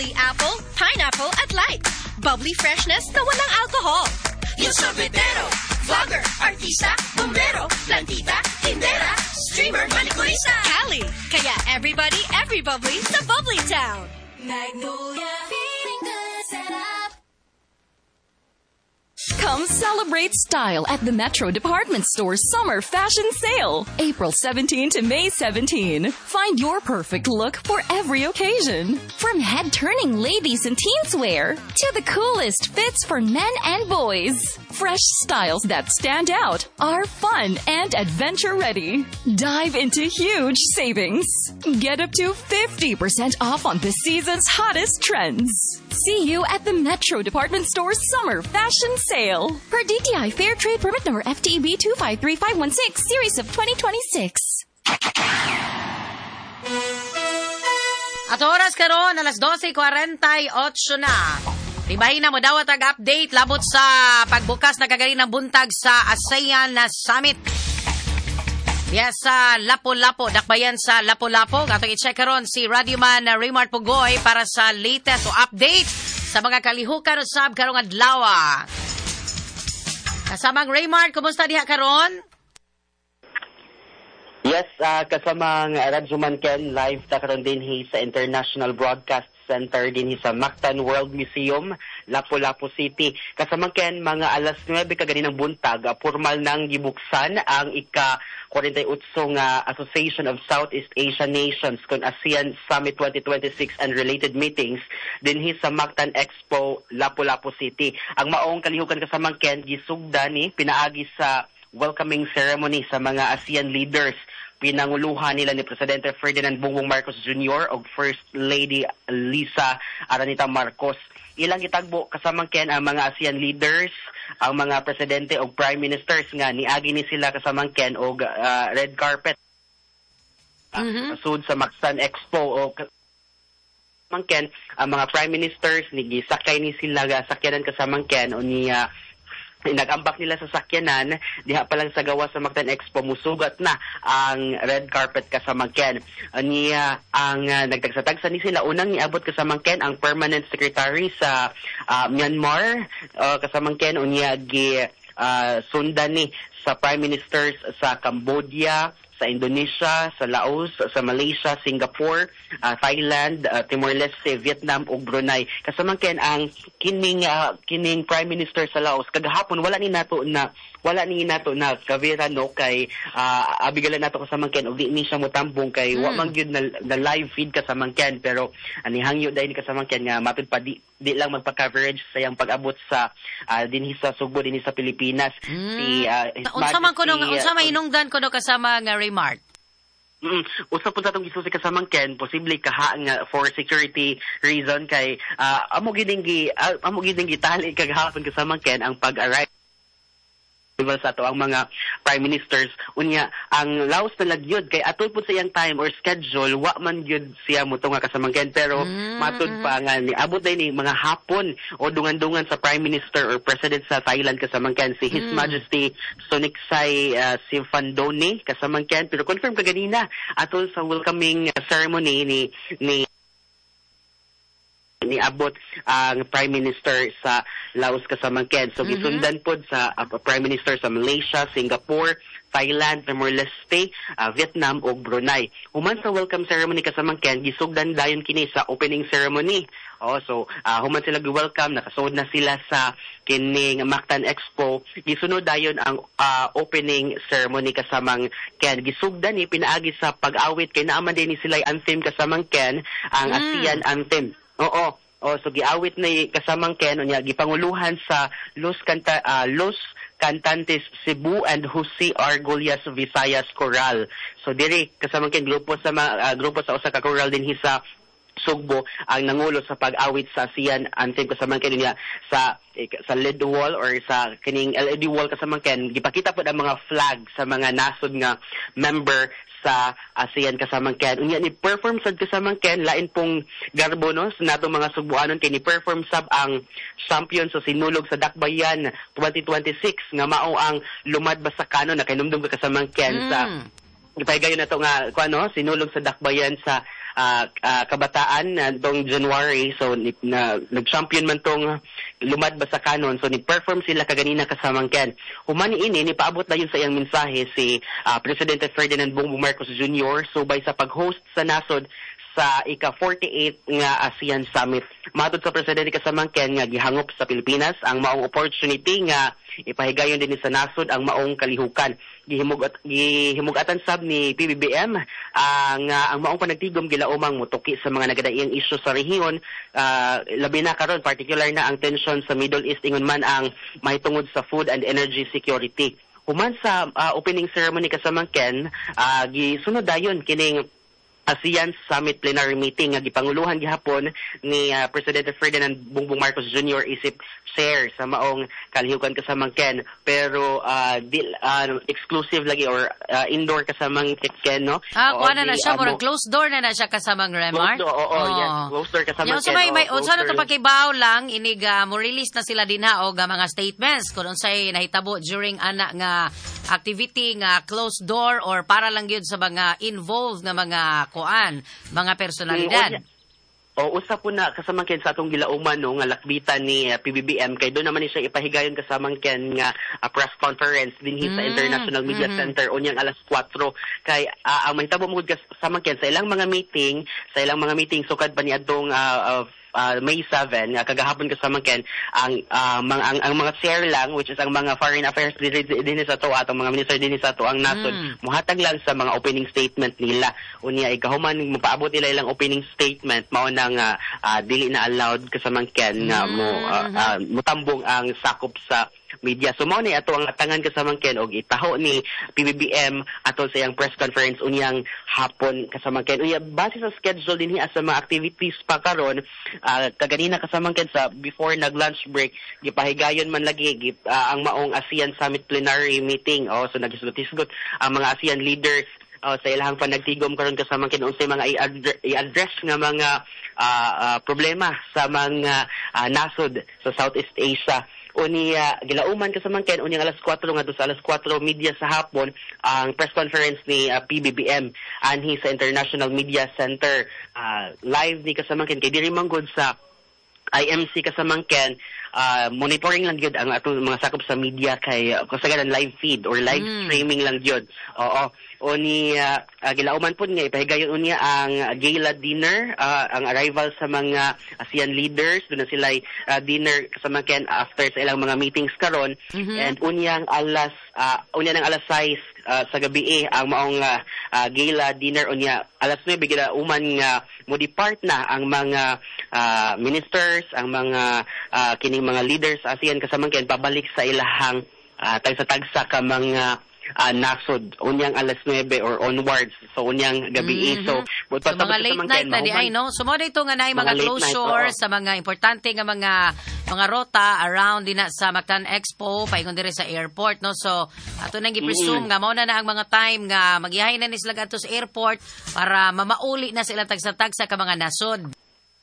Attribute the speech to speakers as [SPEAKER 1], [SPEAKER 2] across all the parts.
[SPEAKER 1] Bubbly apple, pineapple at light. Bubbly freshness na walang alcohol. Yung sorbetero, vlogger, artista, bombero, plantita, tindera, streamer, manicurista. Cali. Kaya everybody, every bubbly sa Bubbly Town.
[SPEAKER 2] Magnolia, feeling good, sarap.
[SPEAKER 3] Come celebrate style at the Metro Department Store Summer Fashion Sale, April 17 to May 17. Find your perfect look for every occasion. From head-turning ladies and teens wear to the coolest fits for men and boys. Fresh styles that stand out are fun and adventure-ready. Dive into huge savings. Get up to 50% off on the season's hottest trends. See you at the Metro Department Store Summer Fashion Sale. Per DTI Fair Trade Permit number FTEB 253516, Series of 2026.
[SPEAKER 4] At oras karon alas 12:48 na. Tibahin na mo dawat ag update labot sa pagbukas na kagaling ng buntag sa ASEAN na Summit. Yes, sa Lapu-Lapu, dakbayan sa Lapu-Lapu. Atong i-check karon si Radyoman Raymart Pugoy para sa latest o update sa mga kalihukan usab karong adlaw. Kasamang Raymart, kumusta diha karon?
[SPEAKER 5] Yes, kasamang Radyoman Ken, live ta karon dinhi sa International Broadcast Center dinhi sa Mactan World Museum, Lapu-Lapu City. Kasamang Ken, mga alas 9 kaganinang buntag, formal nang gibuksan ang ika-48 nga Association of Southeast Asian Nations kon ASEAN Summit 2026 and related meetings dinhi sa Mactan Expo, Lapu-Lapu City. Ang maong kalihukan, kasamang Ken, gisugda ni pinaagi sa welcoming ceremony sa mga ASEAN leaders. Pinanguluhan nila ni Presidente Ferdinand Bongbong Marcos Jr. ug First Lady Lisa Aranita Marcos. Ilang gitagbo, kasamang Ken, ang mga ASEAN leaders, ang mga presidente ug prime ministers nga niagi ni sila, kasamang Ken, og red carpet sud sa Mactan Expo. O kasamang Ken, ang mga prime ministers ni gisakay ni sila ga sakyanan, kasamang Ken, o niya nagambak nila sa sakyanan diha pa lang sa gawas sa Mactan Expo, musugat na ang red carpet, kasamang Ken. Niya ang nagtagsa-tagsa ni sila. Unang niabot, kasamang Ken, ang permanent secretary sa Myanmar, kasamang Ken, unya gi sundan ni sa prime ministers sa Cambodia, sa Indonesia, sa Laos, sa Malaysia, Singapore, Thailand, Timor-Leste, Vietnam ug Brunei. Kasamang Ken, ang kining Prime Minister sa Laos kagahapon wala ni nato na kavera no kay abigalan nato, kasamang Ken, og di ni siya motambong kay wa man gyud na live feed, kasamang Ken, pero ani hangyo dahil ni, kasamang Ken, nga matud pa di lang magpa-coverage sa iyang pag-abot sa dinhi sa Sugbo, dinhi sa Pilipinas. Si His
[SPEAKER 4] Unsa man kuno
[SPEAKER 5] Majesty,
[SPEAKER 4] unsa may hinungdan kuno kasama nga Raymart?
[SPEAKER 5] Usa po sa atong gisusi, kasamang Ken, posible kaha nga for security reason kay amo gining gitali kagahapon, kasamang Ken, ang pag-arrive sa ato ang mga prime ministers. Unya ang Laos na lagyod kay atol pud sa iyang time or schedule wa man gyud siya motunga, kasamang Ken, pero matud pa nga niabot day ni mga hapon o dungan-dungan sa prime minister or president sa Thailand, kasamang Ken, si His Majesty Sonexay Siphandone, kasamang Ken. Pero confirm kaganina atol sa welcoming ceremony ni niabot ang Prime Minister sa Laos, kasamang Ken. So gisundan pod sa Prime Minister sa Malaysia, Singapore, Thailand, Timor-Leste, Vietnam ug Brunei. Human sa welcome ceremony, kasamang Ken, gisugdan dayon kini sa opening ceremony. Oh, so human sila gi-welcome, nakasuod na sila sa kining Mactan Expo. Gisunod dayon ang opening ceremony, kasamang Ken. Gisugdan ni pinaagi sa pag-awit kay naaman din ni sila anthem, kasamang Ken, ang ASEAN anthem. Oo. Oh, so giawit ni, kasamang Ken, unya gipanguluhan sa Los Cantantes Cebu and Jose Argullas Visayas Choral. So diri, kasamang Ken, grupo sa usa ka choral dinhi sa Sugbo ang nangulo sa pag-awit sa ASEAN anthem, kasamang Ken. Niya sa LED wall or sa kining LED wall, kasamang Ken, gipakita pod ang mga flag sa mga nasod nga member sa ASEAN, kasamang Ken. Unya ni perform sad, kasamang Ken, lain pong garbo no sa natong mga Sugbuanon kay ni perform sab ang champion sa Sinulog sa Dakbayan 2026 nga mao ang Lumad Basakano. Na kahinumdum ka, kasamang Ken, sa gipahigayon na to nga kuano Sinulog sa Dakbayan sa kabataan na tong January. So na, nag-champion man tong Lumad Basakanon. So ni-perform sila kaganina kasamang Ken. Human ini nipaabot na yun sa iyang mensahe si Presidente Ferdinand Bongbong Marcos Jr. subay sa pag-host sa nasod sa ika-48 nga ASEAN Summit. Matod sa presidente kasamang Ken nga gihangop sa Pilipinas ang maong opportunity nga ipahigayon din sa nasod ang maong kalihukan. Gihimugatan sab ni PBBM ang maong panagtigom gilaumang mutuki sa mga nagadaiyang isyu sa rehiyon, labi na karon particular na ang tension sa Middle East ingon man ang mahitungod sa food and energy security. Human sa opening ceremony kasamang Ken, gisunod dayon kining ASEAN Summit Plenary Meeting nga gipanguluhan gihapon ni Presidente Ferdinand Bongbong Marcos Jr. isip chair sa maong kalihukan kasamang Ken, pero exclusive lagi or indoor kasamang Ken, no?
[SPEAKER 4] Ah, kuha na siya, murag closed door na siya kasamang Remar.
[SPEAKER 5] Closed door, oo, yes, closed door kasamang Ken.
[SPEAKER 4] May unsa na to pakibaw lang inig mo release na sila dinha og mga statements kung unsay nahitabo during ana nga activity nga closed door or para lang gyud sa mga involved nga mga kuan, mga personalidad.
[SPEAKER 5] O usa po na kasamang Ken sa atong gilauman, no, nga lakbitan ni PBBM kay doon naman ni siya ipahigayon kasamang Ken nga press conference dinhi sa International Media Center unyang alas 4 kay ang mahitabo mo kasamang Ken sa ilang mga meeting sukad pa ni adtong May 7 nga kagahapon kasamang Ken ang ang mga chair lang, which is ang mga foreign affairs dinhi sa ato atong mga minister dinhi sa ato ang nasod muhatag lang sa mga opening statement nila. Unya ikahuman mopaabot nila ilang opening statement mao na nga dili na allowed kasamang Ken nga mo mutambong ang sakop sa media. So mao ni ato ang atangan kasamang Ken og itaho ni PBBM atol sa iyang press conference unyang hapon kasamang Ken. Unya base sa schedule dinhi sa mga activities pa karon, kaganina kasamang Ken sa before nag lunch break gipahigayon man lagi ang maong ASEAN Summit Plenary Meeting. Oh, so nagisgot-isgot ang mga ASEAN leaders sa ilahang panagtigom karon kasamang Ken unsay mga i-address nga mga problema sa mga nasod sa Southeast Asia. Unya gilauman kasamang Ken unyang alas 4 ngadto sa alas 4:30 sa hapon ang press conference ni PBBM anhi sa International Media Center. Live ni kasamang Ken kay diri man gud sa IMC kasamang Ken, monitoring lang gyud ang atong mga sakop sa media kay kasagaran live feed or live streaming lang gyud. Oo. O ni gilauman pud nga ipahigayon unya ang gala dinner, ang arrival sa mga ASEAN leaders, doon na sila dinner kasamang Ken after sa ilang mga meetings karon. And unyang alas unya ng alas 6 sa gabi ang maong gala dinner. Unya alas 9 gilauman nga mo depart na ang mga ministers, ang mga kining mga leaders sa ASEAN kasamang Ken pabalik sa ilahang tagsa-tagsa ka mga nasod unyang alas 9 or onwards, so unyang gabi. So,
[SPEAKER 4] so mga late night na di ay, no? So mo dito nga naay mga closure night, sa mga importante nga mga rota around din na sa Mactan Expo paingon diri sa airport, no? So ato nang gi-presume nga mao na ang mga time nga magihay na ni sila adto sa airport para mamauli na sila tagsa-tagsa ka mga nasod.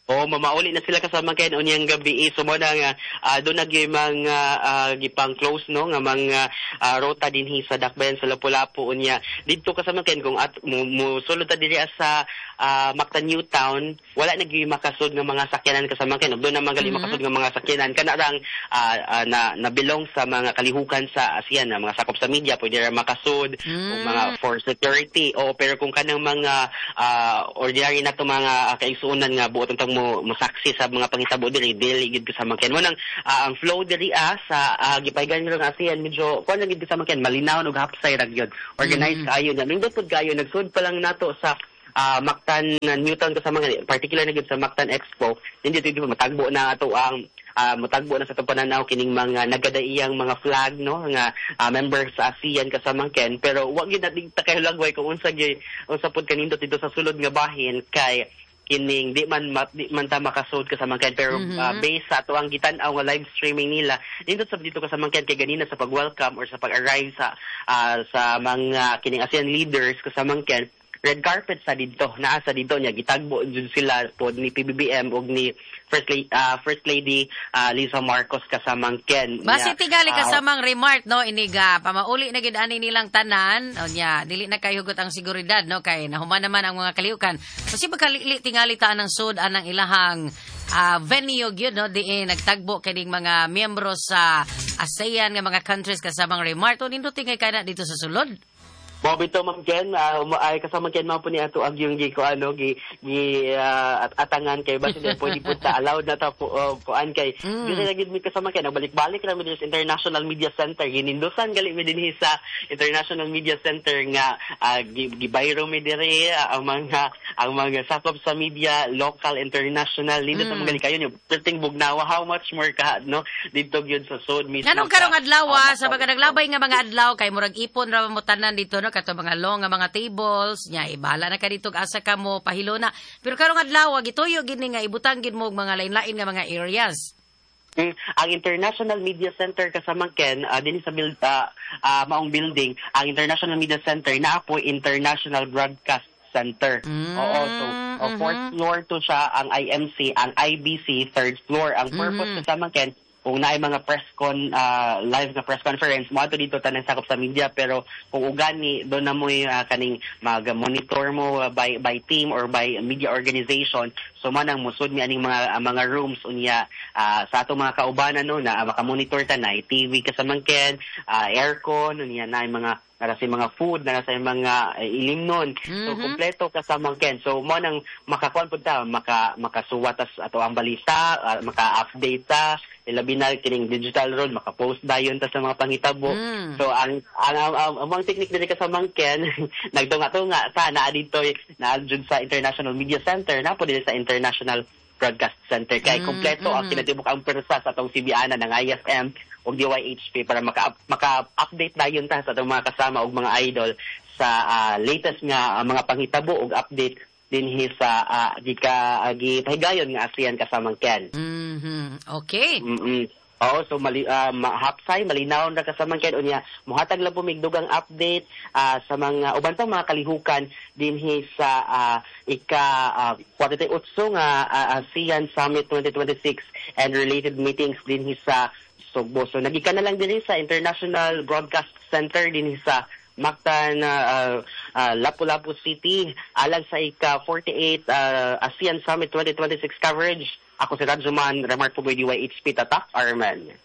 [SPEAKER 5] O mamauli na sila kasama Ken unyang gabi. So mo na nga doon na gyud mga gipang close, no, nga mga rota dinhi sa Dakbayan sa Lapu-Lapu. Unya didto kasama Ken kung at mosulod ta diri sa Mactan New Town, wala na gyud makasud nga mga sakyanan kasama Ken. Doon na gali makasud nga mga sakyanan kana rang na nabilong sa mga kalihukan sa ASEAN na mga sakop sa media pwede ra makasud o mga for security. O pero kung kanang mga ordinary na to mga kaigsuonan nga buot ang mo saksi sa mga panghitabo diri dili gid kasama Ken. Mo nang ang flow diri sa gipahigayon nga ASEAN medyo kuan lang gid kasama Ken, malinaw og hapsay ra gyud. Organized kaayo na. Nindot pud kaayo nagsud pa lang nato sa Mactan Newtown kasama particular na gyud sa Mactan Expo. Hindi dito matagbo na ato ang mutagbo na sa itong pananaw kining mga nagadaiyang mga flag, no, nga members sa ASEAN kasamang Ken, pero wa gyud nating takahulagway kung unsa gyud unsa pud kanindot dito sa sulod nga bahin kay kining di man ta makasud kasamang Ken, pero based sa ato ang gitan-aw nga live streaming nila nindot sa dito kasamang Ken kay ganina sa pag-welcome or sa pag-arrive sa mga kining ASEAN leaders kasamang Ken, red carpet sa didto, naa sa didto niya gitagbo jud sila pod ni PBBM ug ni First Lady Lisa Marcos kasamang Ken.
[SPEAKER 4] Basi tingali kasamang remark no, iniga pamauli na gid ani nilang tanan unya dili na kay hugot ang seguridad no, kay nahuman naman ang mga kaliukan. Kasi baka tingali ta ang sud anang ilahang venue gyud no, diin nagtagbo kining mga miyembro sa ASEAN nga mga countries kasamang remark. O nindot tingay kana dito sa sulod.
[SPEAKER 5] Mao bitaw, Ma'am Ken, ay kasama Ken mao po ni ato ang yung gi ko ano gi, gi at atangan kay basin di pwede po ta allowed na ta po kuan kay dili na gid mi kasama Ken, balik-balik ra mi diri sa International Media Center, ginindusan gali mi dinhi sa International Media Center nga gibayro mi diri ang mga sakop sa media local, international, nindot mm. gali kayo nyo perting bugnawa, how much more ka no didto gyud sa sud mismo.
[SPEAKER 4] Nganong karong adlaw sa mga naglabay nga mga adlaw kay murag ipon ra mo tanan dito no, kato mga long nga mga tables nya ibahala na ka dito asa ka mo pahilona, pero karong adlaw gituyo gid ni nga ibutang gid mo og mga lain-lain nga mga areas.
[SPEAKER 5] Ang International Media Center kasamang Ken, dinhi sa maong building, ang International Media Center naa po International Broadcast Center. Oo, so fourth floor to siya ang IMC, ang IBC third floor. Ang purpose kasamang Ken, kung naay mga press con live na press conference mo ato dito tanang sakop sa media, pero kung ugani do na mo kaning mag-monitor mo by team or by media organization, so man ang musud mi aning mga rooms unya sa atong mga kaubanan no na maka-monitor ta na TV kasamang Ken, aircon unya na mga nara sa mga food, nara sa mga ilimnon. So kompleto kasamang Ken. So mo nang makakuan pud ta, makasuwat tas ato ang balita, maka-update ta, ilabi na kining digital road, maka-post dayon ta sa mga panghitabo. So ang technique diri kasamang Ken, nagtunga-tunga ta naa dito, naa jud sa International Media Center, naa po diri sa International Broadcast Center kay kompleto ang kinatibuk ang pwersa sa atong sibianan ng IFM ug DYHP para maka-update dayon ta sa atong mga kasama ug mga idol sa latest nga mga panghitabo ug update dinhi sa gika gipahigayon nga ASEAN kasamang Ken.
[SPEAKER 4] Okay.
[SPEAKER 5] Oo, so hapsay malinaw ra kasamang Ken, unya mohatag lang po mig dugang update sa mga uban pang mga kalihukan dinhi sa ika 48 nga ASEAN Summit 2026 and related meetings dinhi sa Sugbo. So nagikan na lang dinhi sa International Broadcast Center dinhi sa Mactan, Lapu-Lapu City alang sa ika 48 ASEAN Summit 2026 coverage. Ako si Radyoman Remark Pugoy, DYHP Tatak Arman.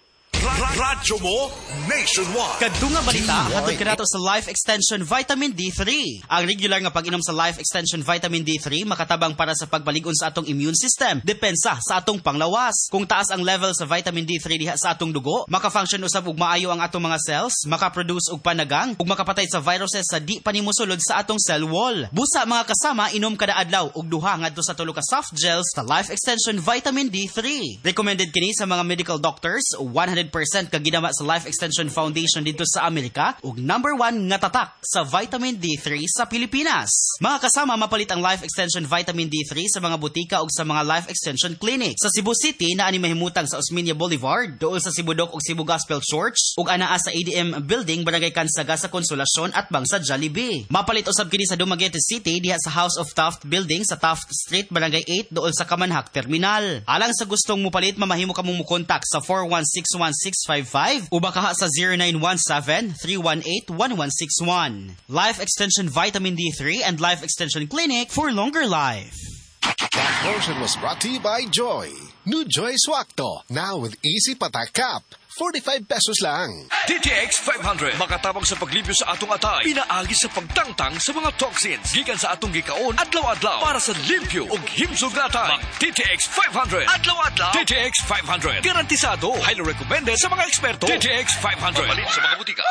[SPEAKER 6] Radyo mo nationwide.
[SPEAKER 7] Kadto nga balita hatod kanato sa Life Extension Vitamin D3. Ang regular nga pag-inom sa Life Extension Vitamin D3 makatabang para sa pagbalig-on sa atong immune system, depensa sa atong panglawas. Kung taas ang level sa vitamin D3 diha sa atong dugo, maka-function usab og maayo ang atong mga cells, maka-produce og panagang, ug makapatay sa viruses sa di pa nimo sulod sa atong cell wall. Busa, mga kasama, inom kada adlaw og 2 ngadto sa 3 ka soft gels sa Life Extension Vitamin D3. Recommended kini sa mga medical doctors, 100% kaginama sa Life Extension Foundation dito sa Amerika ug number 1 nga tatak sa vitamin D3 sa Pilipinas. Mga kasama, mapalit ang Life Extension Vitamin D3 sa mga butika ug sa mga Life Extension Clinic. Sa Cebu City naa ni mahimutang sa Osmeña Boulevard, duol sa Cebu Doc ug Cebu Gospel Church ug anaa sa ADM Building, Barangay Cansaga sa Consolacion at bang sa Jollibee. Mapalit usab kini sa Dumaguete City diha sa House of Taft Building sa Taft Street, Barangay 8, duol sa Kamanhak Terminal. Alang sa gustong mupalit, mamahimo kamong mukontak sa 4161655 o baka sa 0917-318-1161. Life Extension Vitamin D3 and Life Extension Clinic for longer life.
[SPEAKER 8] That portion was brought to you by Joy. New Joy Swakto. Now with Easy Patak Cap. 45 pesos lang.
[SPEAKER 6] DTX 500 makatabang sa paglimpyo sa atong atay pinaagi sa pagtangtang sa mga toxins gikan sa atong gikaon adlaw-adlaw para sa limpyo ug himsog nga atay. Mag DTX 500 adlaw-adlaw. DTX 500 garantisado, highly recommended sa mga eksperto. DTX 500 mapalit sa mga butika.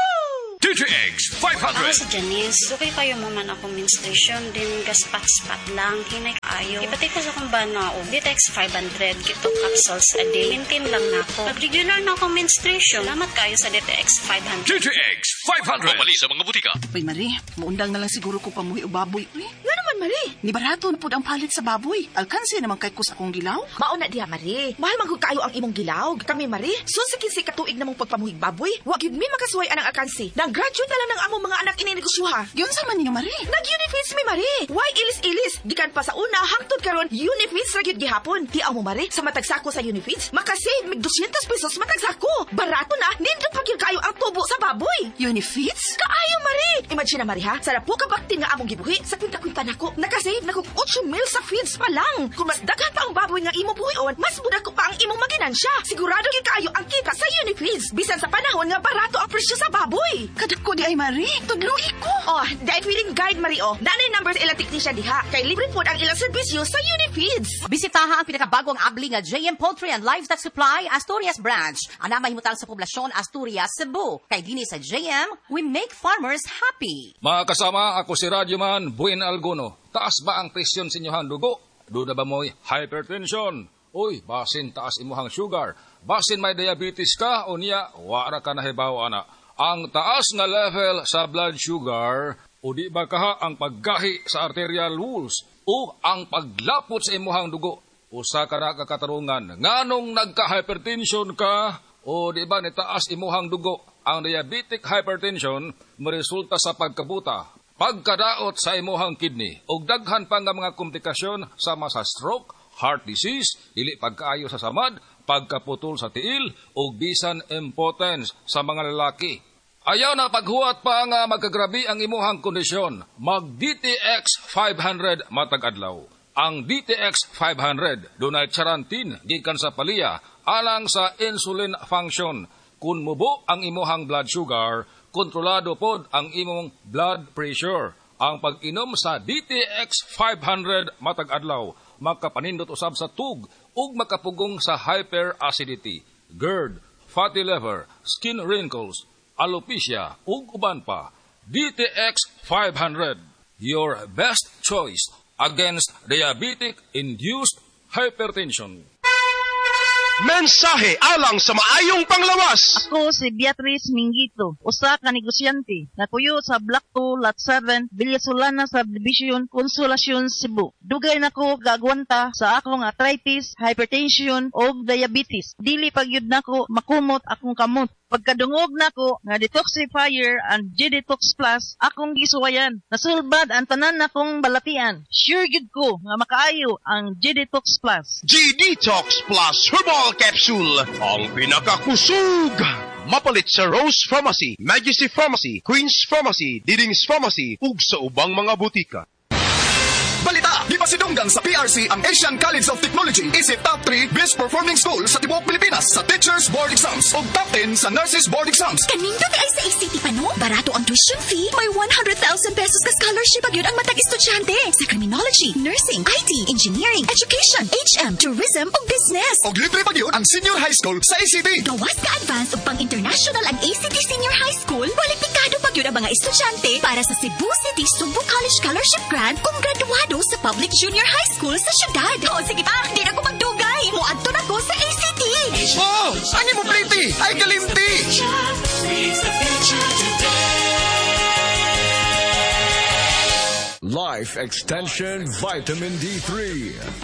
[SPEAKER 6] DTX 500.
[SPEAKER 9] Ako si Janice. Dugay kayo mo man akong menstruation. Din gaspat-spat lang. Hinay kaayo. Ipatay ko sa akong bana og DTX 500. Kito capsules a day. Maintain lang na ako. Nag-regular na akong menstruation. Salamat kayo sa DTX 500.
[SPEAKER 6] DTX 500 mapalit sa mga butika.
[SPEAKER 10] Uy, Marie, muundang na lang siguro ko pamuhi og baboy. Uy,
[SPEAKER 1] Nga naman,
[SPEAKER 10] Marie?
[SPEAKER 11] Ni barato na pud ang palit sa baboy. Alkansi naman kay kus akong gilaw.
[SPEAKER 10] Mao na diha, Marie. Mahal man gud kaayo ang imong gilaw. Kami, Marie, sus sa 15 ka tuig namong pagpamuhig baboy, wa gyud mi makasuway anang alkansi. Nang graduate na lang ng among mga anak ini negosyoha.
[SPEAKER 11] Giunsa man ninyo, Marie?
[SPEAKER 10] Nag-Unifeeds mi, Marie. Why ilis-ilis? Gikan pa sa una hangtod karon Unifeeds ra gyud gihapon. Tiaw mo, Marie, sa matag sako sa Unifeeds, makasave mig 200 pesos matag sako. Barato na, nindot pa gyud kaayo ang tubo sa baboy.
[SPEAKER 11] Unifeeds?
[SPEAKER 10] Kaayo, Marie. Imagine na, Marie, ha? Sa po ka bakti nga among gibuhi sa kwinta-kwinta nako, nakasave na kog 8 mil sa feeds pa lang. Kung mas daghan pa ang baboy nga imong buhion, mas mudako pa ang imong maginansya. Sigurado gyud kaayo ang kita sa Unifeeds bisan sa panahon nga barato ang presyo sa baboy.
[SPEAKER 11] Kadako di ay, Marie. Tudluhi ko.
[SPEAKER 10] Oh, dahil feeling guide, Marie, oh. Nanay number sa ilang technician diha. Kay libre pod ang ilang serbisyo sa Unifeeds.
[SPEAKER 4] Bisitaha ang pinakabagong abli nga JM Poultry and Livestock Supply Asturias Branch. Ana mahimutang sa poblasyon Asturias, Cebu. Kay dinhi sa JM, we make farmers happy.
[SPEAKER 12] Mga kasama, ako si Radyoman Buin Alguno. Taas ba ang presyon sa inyong dugo? Duda ba mo'y hypertension? Uy, basin taas imuhang sugar. Basin may diabetes ka o niya, wara ka nahibaw ana. Ang taas nga level sa blood sugar, o di ba kaha ang paggahi sa arterial walls o ang paglapot sa imuhang dugo? Usa ka na kakatarungan. Nganong nagka-hypertension ka o di ba nitaas imuhang dugo? Ang diabetic hypertension maresulta sa pagkabuta, pagkadaot sa imuhang kidney, ug daghan pa nga mga komplikasyon sama sa stroke, heart disease, dili pagkaayo sa samad, pagkaputol sa tiil, ug bisan impotence sa mga lalaki. Ayaw na paghuwat pa nga magkagrabi ang imuhang kondisyon. Mag DTX 500 matag adlaw. Ang DTX 500 dunay charantin gikan sa paliya alang sa insulin function. Kung mubo ang imuhang blood sugar, kontrolado pod ang imong blood pressure. Ang pag-inom sa DTX 500 matag adlaw makapanindot usab sa tug ug makapugong sa hyperacidity, GERD, fatty liver, skin wrinkles, alopecia ug uban pa. DTX 500, your best choice against diabetic-induced hypertension.
[SPEAKER 13] Mensahe alang sa maayong panglawas.
[SPEAKER 14] Ako si Beatrice Mingito, usa ka negosyante, nakuyo sa Block 2, Lot 7, Villasolana Subdivision, Consolacion, Cebu. Dugay nako gaagwanta sa akong arthritis, hypertension ug diabetes. Dili pagyud nako makumot akong kamot. Pagkadungog nako nga detoxifier and G-Detox Plus akong gisuwayan. Nasulbad ang tanan nakong balatian. Sure gyud ko nga makaayo ang G-Detox Plus.
[SPEAKER 13] G-Detox Plus Herbal Capsule, ang pinakakusog. Mapalit sa Rose Pharmacy, Majesty Pharmacy, Queen's Pharmacy, Diding's Pharmacy ug sa ubang mga butika.
[SPEAKER 15] Balita, gipasidunggan sa PRC ang Asian College of Technology isip top 3 best performing school sa tibuok Pilipinas sa Teachers Board Exams ug top 10 sa Nurses Board Exams.
[SPEAKER 1] Kanindot ay sa ACT pa no? Barato ang tuition fee, may 100,000 pesos ka scholarship gyud ang matag estudyante sa criminology, nursing, IT, engineering, education, HM, tourism ug business.
[SPEAKER 15] Og libre pa gyud ang senior high school sa ACT.
[SPEAKER 1] Gawas ka advance ug pang international ang ACT Senior High School, kwalipikado pa gyud ang mga estudyante para sa Cebu City Sugbo College Scholarship Grant kung graduado sa public junior high school sa syudad. O sige pa, di na ko magdugay. Moadto na ko sa ACT.
[SPEAKER 15] Oh, ani mo pretty, ay kalimti.
[SPEAKER 6] Life Extension Vitamin D3.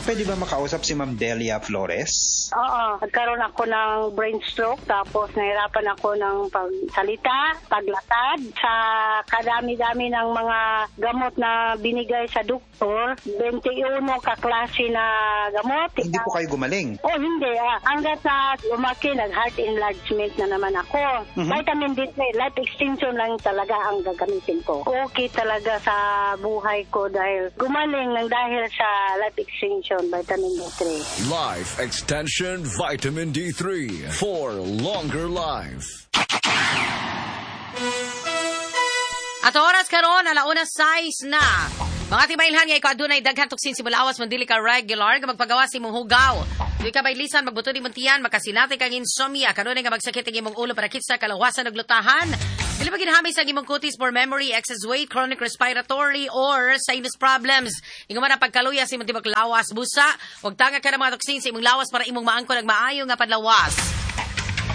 [SPEAKER 16] Pwede ba makausap si Ma'am Delia Flores?
[SPEAKER 17] Oo, nagkaroon ako ng brain stroke, tapos nahirapan ako ng pagsalita, paglakad. Sa kadami-dami ng mga gamot na binigay sa doktor, 21 kaklase na gamot.
[SPEAKER 16] Hindi po kayo gumaling?
[SPEAKER 17] Oh, hindi. Hanggat sa lumaki, nag-heart enlargement na naman ako.
[SPEAKER 16] Mm-hmm.
[SPEAKER 17] Vitamin D3, life extension lang talaga ang gagamitin ko. Okay talaga sa buhay ko dahil gumaling ng dahil sa life extension, vitamin D3.
[SPEAKER 6] Life Extension Vitamin D3 for longer life.
[SPEAKER 4] At oras karon 1:06 na. Mga tibailhan nga ikaw adunay daghan tuksin si mulawas man dili ka regular nga magpagawas imong hugaw. Di ka baylisan magbuto ni muntian makasinati kang insomnia kanunay nga magsakit ang imong ulo para kitsa kalawasan ug lutahan. Dili pa ginhamay sa imong kutis for memory, excess weight, chronic respiratory or sinus problems. Ingon man ang pagkaluya sa imong tibok lawas busa, wag tanga ka ng mga toksin sa imong lawas para imong maangkon ang maayo nga panlawas.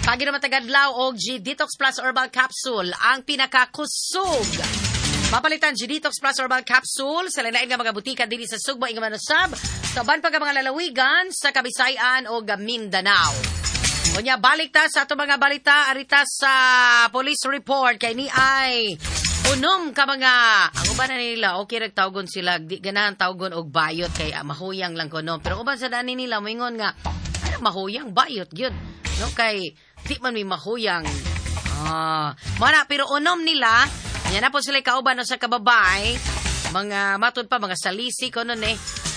[SPEAKER 4] Pagi naman tagadlaw og G-Detox Plus Herbal Capsule, ang pinakakusog. Mapalitan G-Detox Plus Herbal Capsule sa lain nga mga butika dinhi sa Sugbo ing manusab sa uban pa nga mga lalawigan sa Kabisayan o Mindanao. Unya, balik ta sa ato mga balita arita sa police report kay ni ay unom ka mga ang uban na nila okay rag tawgon sila di ganahan tawgon og bayot kay mahuyang lang kuno, pero uban sa dani nila moingon nga ano mahuyang bayot gyud no, kay di man mi mahuyang mana, pero unom nila nya na po sila kauban sa kababay mga matud pa mga salisi kuno ni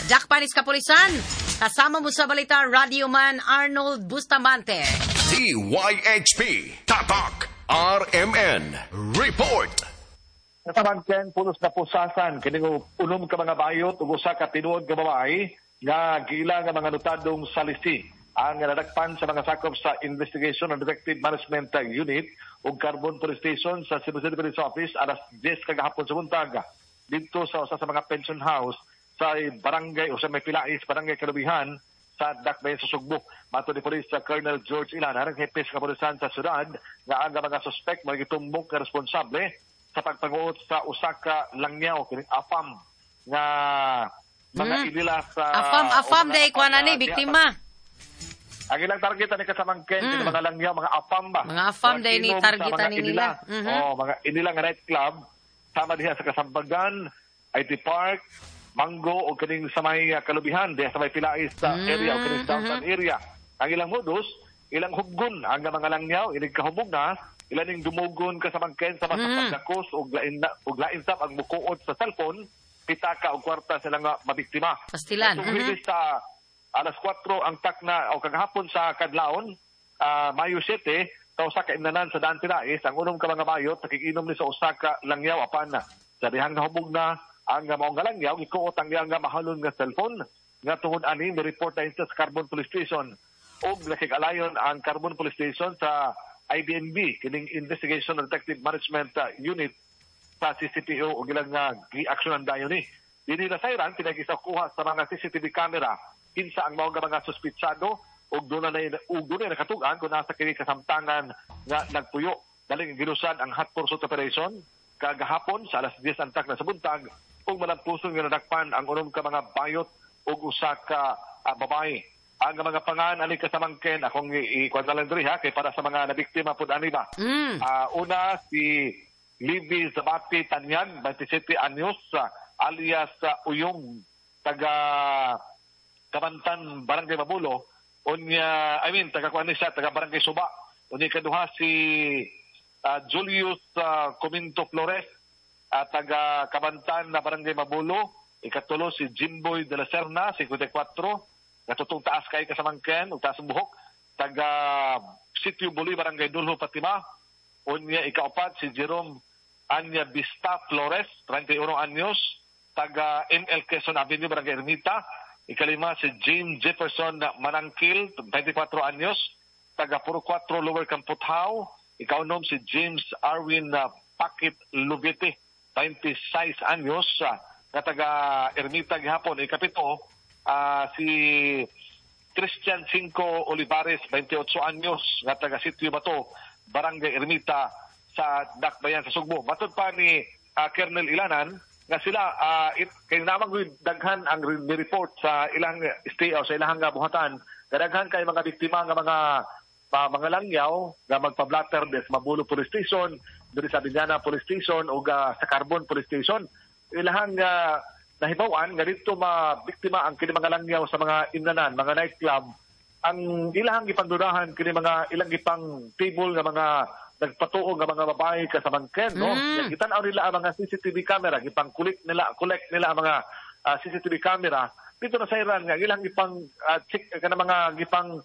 [SPEAKER 4] Jack Panis Kapulisan. Kasama mo sa balita Radio Man Arnold Bustamante.
[SPEAKER 6] DYHP Tatak RMN Report.
[SPEAKER 18] Kasamangken, pulos na pusasan kining unom ka mga bayot ug usa ka tinuod ka babae nga giila nga mga notadong salisi ang nadakpan sa mga sakop sa Investigation and Detective Management Unit ug Carbon Police Station sa Cebu City Police Office alas 10 kagahapon sa buntag didto sa usa sa mga pension house sa barangay o sa may Pilais, Barangay Kalubihan sa Dakbayan sa Sugbo. Matod ni Police Colonel George Ilan, harang hepe sa kapulisan sa syudad nga ang mga suspek magitumbok nga responsable sa pagpanguot sa usa ka langyaw kining afam nga mga inila sa
[SPEAKER 4] afam day kuan ani biktima.
[SPEAKER 18] Ang ilang target ani kasamangken kini mga langyaw, mga afam ba.
[SPEAKER 4] Mga afam day ni target ani nila.
[SPEAKER 18] Oh, mga inila nga night club sama diha sa Kasambagan, IT Park, Mango o kining sa may Kalubihan diha sa may Pilais sa area o kining downtown area. Ang ilang modus, ilang hubgon ang mga langyaw, ilang kahubog na ilan ning dumugon kasamangken sa masapagdakos og lain sab ang mukuot sa cellphone, pitaka og kwarta sila nga mabiktima.
[SPEAKER 4] Pastilan.
[SPEAKER 18] Sa alas 4 ang takna o kagahapon sa kadlawon, Mayo 7, sa usa ka imnanan sa Daan Pilais, ang unom ka mga bayot nakikinom ni sa usa ka langyaw apan sa dihang nahubog na ang maong langyaw gikuot ang iyang mahalon nga cellphone nga tungod ani mi-report na sa Carbon Police Station og nakig-alayon ang Carbon Police Station sa IDNB kining Investigation and Detective Management Unit sa CCPO og ilang gi-aksyonan dayon ni. Dinhi na sayran pinag-isakuha sa mga CCTV camera kinsa ang maong mga suspitsado og dunay nakatug-an kung nasa kini kasamtangan nga nagpuyo. Daling gilusan ang hot pursuit operation kagahapon sa alas 10 antak na sa buntag ug malampuson nga nadakpan ang unom ka mga bayot ug usa ka babae. Ang mga pangan ani kasamangken akong ikuan lang diri ha kay para sa mga nabiktima pud ani ba. Una si Libby Zabati Tanyan, 27 anyos, alias Uyong, taga Kabantan, Barangay Mabulo. Unya, taga kuan ni siya, taga Barangay Suba. Unya kaduha si Julius Cominto Flores, taga Kabantan na Barangay Mabulo. Ikatulo si Jimboy de la Serna, 54, natutong taas kay kasamangken ug taas ang buhok, taga Sitio Buli, Barangay Dulho, Fatima. Unya ikaapat si Jerome Anya Vista Flores, 31 anyos, taga ML Quezon Avenue, Barangay Ermita. Ikalima si James Jefferson Manangkil, 24 anyos, taga Puro 4 Lower Camputhaw. Ikaunom si James Arwin Pakit Lubete, 26 anyos, na taga Ermita gihapon. Ikapito si Christian Cinco Olivares, 28 anyos, nga taga Sitio Bato, Barangay Ermita sa Dakbayan sa Sugbo. Matod pa ni Colonel Ilanan nga sila kay namang daghan ang report sa ilang stay o sa ilang buhatan, kadaghan kay mga biktima nga mga langyaw nga magpa-blatter des Mabulo Police Station, diri sa Biñana Police Station o sa Carbon Police Station. Ilahang nahibaw-an nga dito mabiktima ang kini mga langyaw sa mga imnanan, mga nightclub. Ang ilahang gipangdudahan kini mga ilang gipang table nga mga nagpatuo nga mga babae kasamangken, no? Gitan-aw nila ang mga CCTV camera, gipang collect nila ang mga CCTV camera dito na sayran nga ilang gipang check kana mga gipang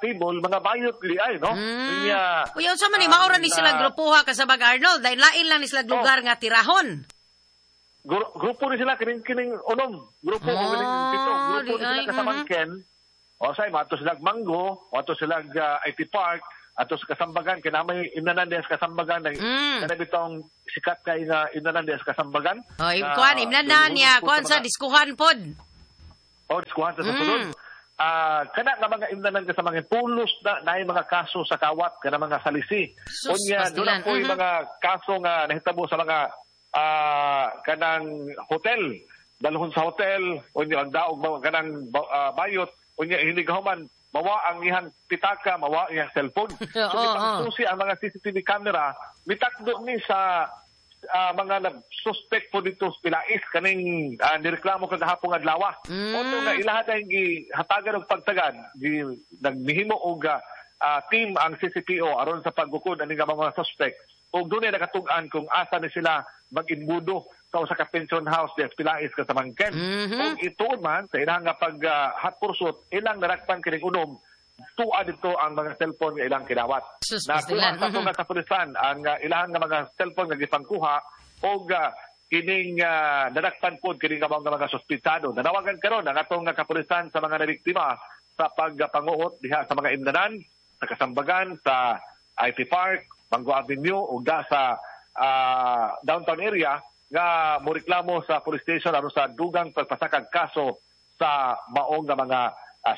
[SPEAKER 18] table mga bayot li ay, no?
[SPEAKER 4] Uy, unsa man ni maura ni sila grupoha kasabag Arnold, dahil lain lang ni sila lugar nga tirahon.
[SPEAKER 18] Grupo ni sila kining unom, grupo o kining pito, grupo ni sila kasamangken. O say mato sila Mango, ato sila IT Park, ato sa Kasambagan kay namay imnanan diha sa Kasambagan kana bitong sikat kay nga imnanan diha sa Kasambagan.
[SPEAKER 4] Oh, kuan imnanan niya, kuan sa diskuhan pod.
[SPEAKER 18] Oh, diskuhan sa sulod. Kana nga mga imnanan ka sa mga pulos na naay mga kaso sa kawat kana mga salisi. Unya doon po mga kaso nga nahitabo sa mga kanang hotel, dalhon sa hotel unya ang daog kanang bayot unya hinigahuman mawa ang iyang pitaka, mawa ang iyang cellphone. So gipangsusi ang mga CCTV camera, mitakdo ni sa mga nag-suspect po dito sa Pilais kaning nireklamo kagahapon adlaw. Oto nga ilaha dahil gihatagan og pagtagad, nagmihimo og team ang CCPO aron sa paggukod ani nga mga suspect. Ug dunay nakatug-an kung asa ni sila mag-imbudo sa usa ka pension house di Pilais kasamangken. Ug ituon man sa ilang nga pag hot pursuit, ilang narakpan kining unom, tuwa dito ang mga cellphone nga ilang kinawat. Nakuha sa atong kapulisan ang ilang nga mga cellphone nga gipangkuha og kining narakpan pod kining nga mga suspitsado. Nanawagan karon ang atong kapulisan sa mga nabiktima sa pagpanguot diha sa mga imnanan, sa Kasambagan, sa IT Park, Mango Avenue ug sa downtown area nga moreklamo sa police station aron sa dugang pagpasakag kaso sa maong nga mga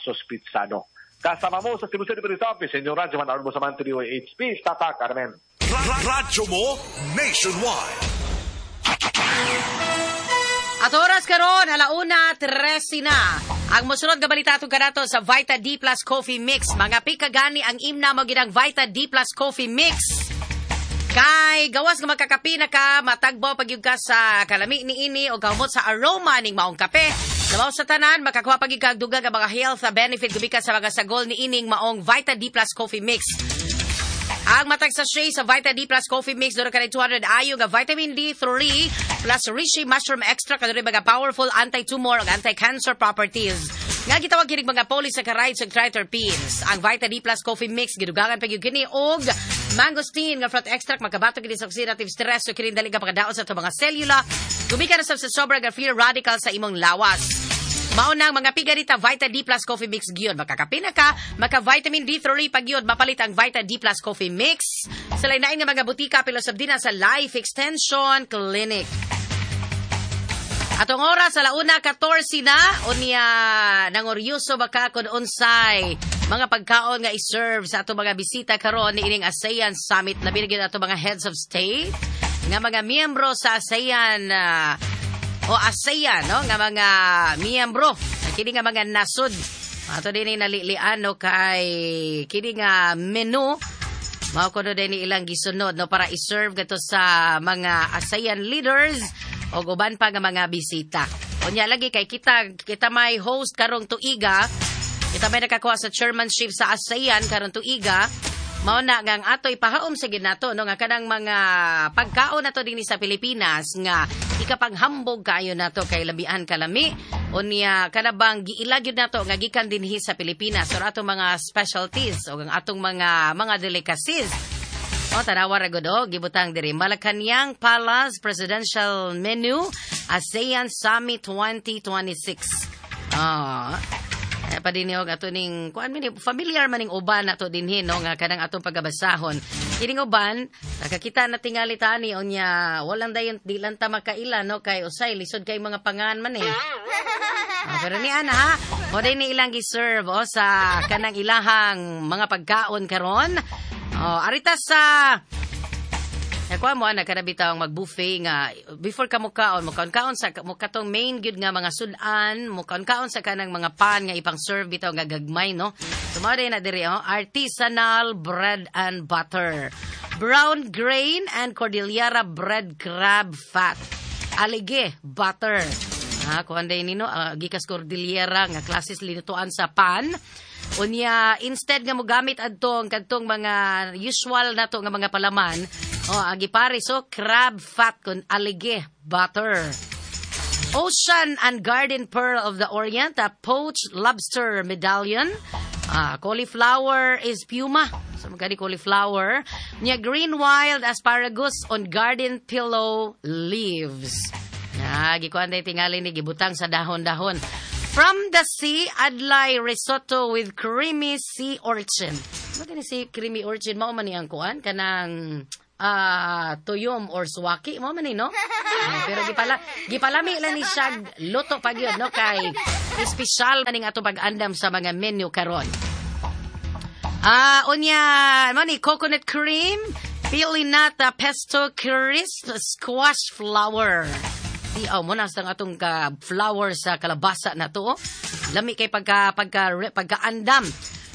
[SPEAKER 18] suspitsado. Kasama mo sa Cebu City Police Office, Senyor Radyo Man Arbo Samante DOHP, Tatak Carmen.
[SPEAKER 6] Radyo mo nationwide.
[SPEAKER 4] At oras karon 1:13 na. Ang mosunod nga balita atong kanato sa Vita D Plus Coffee Mix. Mga pikagani ang imna mo ginang Vita D Plus Coffee Mix. Kay gawas nga magkakape na ka, matagbo pag ka sa kalami niini o kahumot sa aroma ning maong kape. Labaw sa tanan, makakuha pag ka dugang nga mga health benefit gumikan sa mga sagol niining maong Vita D Plus Coffee Mix. Ang matag sachet sa Vita D Plus Coffee Mix doon ka 200 ayo nga vitamin D3 plus reishi mushroom extract kadto mga powerful anti-tumor ug anti-cancer properties. Nga gitawag kinig mga polysaccharides ug triterpenes. Ang Vita D Plus Coffee Mix gidugangan pa gyud kini og mangosteen nga fruit extract makabato kini sa oxidative stress ug kini dali ka pagkadaot sa atong mga selula. Gumikan sa sobra nga free radical sa imong lawas. Mao nang mga pigarita Vita D Plus Coffee Mix gyud. Makakape na ka, maka vitamin D3 pag gyud mapalit ang Vita D Plus Coffee Mix sa lain-lain nga mga butika pero sab dinha sa Life Extension Clinic. Atong oras 1:14 na unya nangoryoso baka kun unsay mga pagkaon nga i-serve sa atong mga bisita karon niining ASEAN Summit. Labi na gyud atong mga heads of state nga mga miyembro sa ASEAN o ASEAN, no, nga mga miyembro kini nga mga nasod ato din nalilian, no, kay kini nga menu mao kuno din ilang gisunod, no, para i-serve gato sa mga ASEAN leaders o uban pa nga mga bisita. Unya lagi kay kita may host karong tuiga, kita may nakakuha sa chairmanship sa ASEAN karong tuiga. Mao na nga ang ato ipahaom sa ginato, no, nga kanang mga pagkaon nato dinhi sa Pilipinas nga ikapanghambog kaayo nato kay labian kalami unya kanabang giila gyud nato nga gikan dinhi sa Pilipinas or atong mga specialties o ang atong mga delicacies. O tanawa ra gud, gibutang diri Malacanang Palace Presidential Menu ASEAN Summit 2026. Pa din og ato ning kuan man familiar man ning uban nato dinhi, no, nga kanang atong pagabasahon. Kining uban nakakita na tingali tani unya walang dayon di lang ta makaila, no, kay usay lisod kay mga pangan man eh. Pero ni ana ha, mo din ni ilang gi-serve o sa kanang ilahang mga pagkaon karon. Arita sa Nakuha mo, ana, kada bitawang mag-buffet nga, before ka mukaon, mukaon-kaon sa, mukatong main gyud nga mga sudan, mukaon-kaon sa kanang mga pan nga ipang-serve bitaw nga gagmay, no? So, mao na diri, oh, artisanal bread and butter, brown grain and Cordillera bread crab fat, alige butter. Ha, kuan day nino, gikas Cordillera nga klases linutuan sa pan. Unya, instead nga mogamit adtong kadtong mga usual nato nga mga palaman, oh, agipare so crab fat kun alige butter. Ocean and Garden Pearl of the Orient, a poached lobster medallion. Cauliflower is puma. So magkani cauliflower. Nya green wild asparagus on garden pillow leaves. Gikuan day tingali ni gibutang sa dahon-dahon. From the sea, adlay risotto with creamy sea urchin. Ano si creamy urchin? Mao man ni ang kuan kanang tuyom or suwaki mo man ni, no? Pero gipalami lang ni siya luto pa gyud, no, kay espesyal maning ato pag-andam sa mga menu karon. Unya, mo ni coconut cream, Pilinata pesto crisp squash flower. Di oh, mo na sa atong ka flower sa kalabasa na to. Oh. Lami kay pagka andam.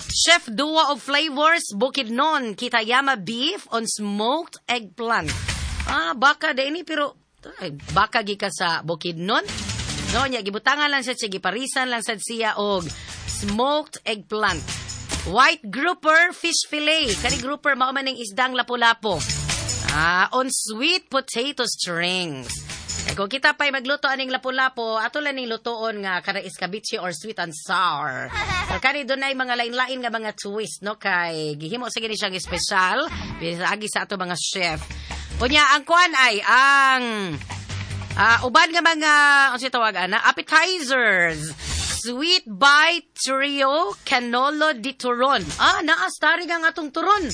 [SPEAKER 4] Chef Duo of Flavors Bukidnon Kitayama beef on smoked eggplant. Ah, baka di pero ay, baka gika sa Bukidnon. No, nya gibutangan lang siya, giparisan lang sad siya og smoked eggplant. White grouper fish fillet. Kani grouper mao man ning isdang lapu-lapo. Ah, on sweet potato strings. Eh, kung kita pa'y magluto aning lapu-lapo, ato lang ning lutoon nga kada escabeche or sweet and sour. So, kani dunay mga lain-lain nga mga twist, no, kay gihimo sa gini siyang espesyal agi sa ato mga chef. Unya ang kuan ay ang uban nga mga unsa tawag ana, appetizers. Sweet Bite Trio Cannolo di Turon. Ah, naa starring ang atong turon.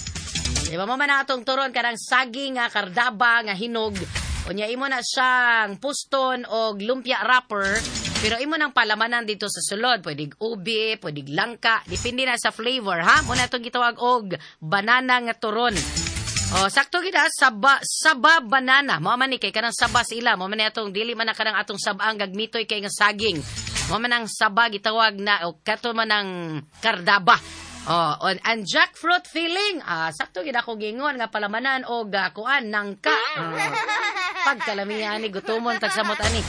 [SPEAKER 4] Di ba mo man ang atong turon kanang saging nga kardaba nga hinog. Unya imo na siyang puston og lumpia wrapper, pero imo nang palamanan dito sa sulod. Pwedeng ubi, pwedeng langka, depende na sa flavor, ha? Muna itong gitawag og banana nga turon. O, sakto gid ah, saba, saba banana. Mao man ni kay kanang saba sila. Mao man ni atong dili man na kanang atong sabang gagmitoy kay nga saging. Mao man ang saba gitawag na o kato man ang kardaba. Oh, on, and jackfruit filling. Ah, sakto gid ako gingon nga palamanan og kuan nangka. Pagkalamian ani gutomon tagsamot ani.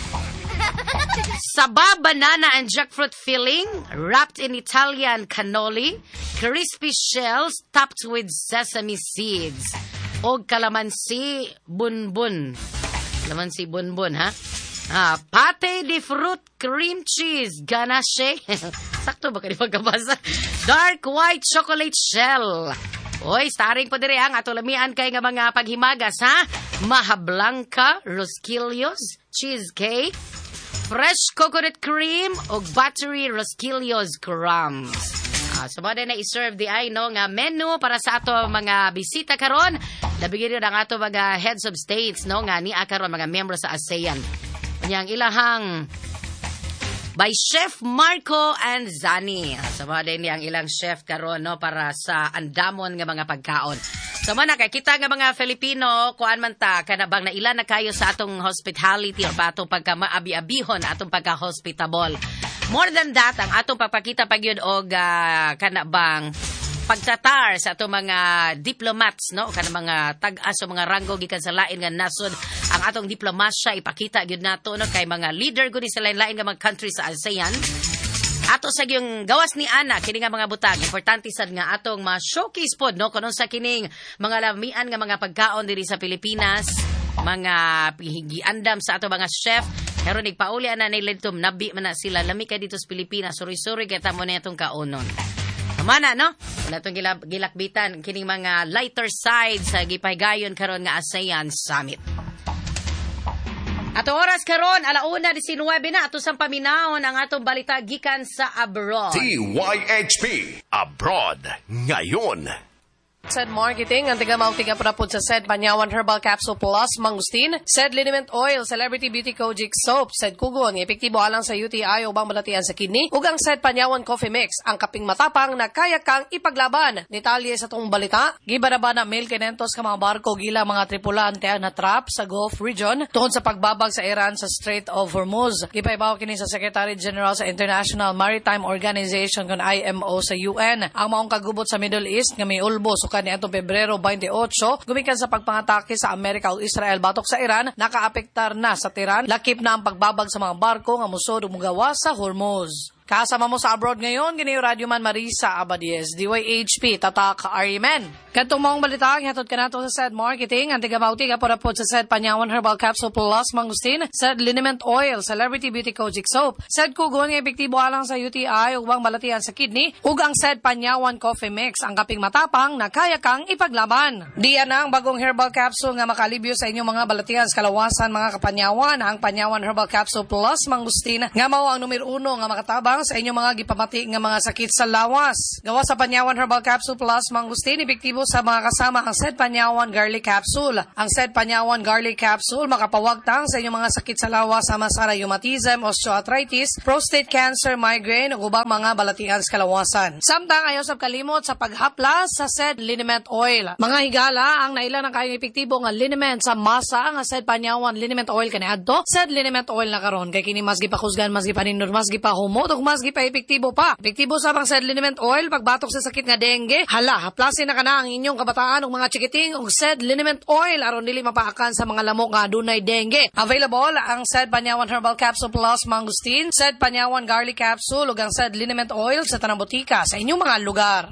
[SPEAKER 4] Saba banana and jackfruit filling wrapped in Italian cannoli, crispy shells topped with sesame seeds. Og kalamansi bunbun. Kalamansi bunbun, ha? Ah, pate di fruit cream cheese ganache. Sakto ba kani pagkabasa? Dark white chocolate shell. Oy, starring po dire ang ato lamian kay nga mga paghimagas, ha? Mahablanca, rosquillos, cheesecake, fresh coconut cream ug buttery rosquillos crumbs. Ah, so mo na i-serve di ay no nga menu para sa ato mga bisita karon. Labi gyud ang ato mga heads of states no nga niya karon mga membro sa ASEAN. Unyang ilahang by Chef Marco Anzani. So mo din ang ilang chef karon no para sa andamon nga mga pagkaon. So mo na kay kita nga mga Filipino kuan man ta kana bang naila na kayo sa atong hospitality or pa atong pagka maabi-abihon atong pagka hospitable. More than that, ang atong pagpakita pagyud og kana bang pagtatar sa atong mga diplomats no kana mga tag-as o mga ranggo gikan sa lain nga nasod, ang atong diplomasya ipakita gyud nato no kay mga leader gud sa lain-lain nga mga country sa ASEAN. Ato sa gyung gawas ni ana kini nga mga butang importante sad nga atong ma-showcase pod no kuno sa kining mga lamian nga mga pagkaon diri sa Pilipinas, mga giandam sa ato mga chef. Pero nagpauli ana ni Lentum nabi man na sila lami kay dito sa Pilipinas, suri-suri kay tamo na itong kaonon. Mana no? Wala itong gilakbitan kining mga lighter side sa gipahigayon karon nga ASEAN Summit. Ato oras karon 1:19 na ato sang paminawon ang atong balita gikan sa abroad.
[SPEAKER 6] DYHP Abroad ngayon.
[SPEAKER 19] Said Marketing, ang tiga-mauting apurapod sa said Panyawan Herbal Capsule Plus, Mangustin, said Liniment Oil, Celebrity Beauty Kojic Soap, said Kugon, epektibo alang sa UTI o bang balatian sa kidney, ug ang said Panyawan Coffee Mix, ang kaping matapang na kaya kang ipaglaban. Detalye sa tong balita, gibaraba na 1,500 ka mga barko gila mga tripulante ang natrap sa Gulf region tungod sa pagbabag sa Iran sa Strait of Hormuz. Gipaibaw kini sa Secretary General sa International Maritime Organization kon IMO sa UN. Ang maong kagubot sa Middle East nga miulbo suka niadtong Pebrero 28, gumikan sa pagpangatake sa Amerika ug Israel batok sa Iran, nakaapektar na sa Tehran, lakip na ang pagbabag sa mga barko nga musod ug mugawas sa Hormuz. Kasama mo sa abroad ngayon, gini Radyo Man Marisa Abadies, DYHP, Tatak Arimen. Kadtong maong balita, gihatod kanato sa said Marketing, ang tiga-mauti kapurapod sa said Panyawan Herbal Capsule Plus, Mangustin, said Liniment Oil, Celebrity Beauty Kojic Soap, said Kugon nga epektibo alang sa UTI ug bang balatian sa kidney, ug ang said Panyawan Coffee Mix, ang kaping matapang na kaya kang ipaglaban. Diyan na ang bagong herbal capsule nga makalibyo sa inyong mga balatian sa kalawasan mga kapanyawan, ang Panyawan Herbal Capsule Plus, Mangustin, nga mao ang numero 1 nga makatabang makatabang sa inyong mga gipamati nga mga sakit sa lawas. Gawa sa Panyawan Herbal Capsule Plus Mangustin, epektibo sa mga kasama ang Sed Panyawan Garlic Capsule. Ang Sed Panyawan Garlic Capsule makapawagtang sa inyong mga sakit sa lawas sama sa rheumatism, osteoarthritis, prostate cancer, migraine ug ubang mga balatian sa kalawasan. Samtang ayaw sab kalimot sa paghaplas sa Sed Liniment Oil. Mga higala, ang naila ng kayong epektibo nga liniment sa masa nga Sed Panyawan Liniment Oil kaniadto, Sed Liniment Oil na karon kay kini mas gipakusgan, mas gipanindot, mas gipahumot ug mas gipaepektibo pa. Epektibo sa pang Sed Liniment Oil pagbatok sa sakit nga dengue. Hala, haplasin na kana ang inyong kabataan ug mga chikiting og Sed Liniment Oil aron dili mapaakan sa mga lamok nga adunay dengue. Available ang Sed Panyawan Herbal Capsule Plus Mangustin, Sed Panyawan Garlic Capsule ug ang Sed Liniment Oil sa tanang botika sa inyong mga lugar.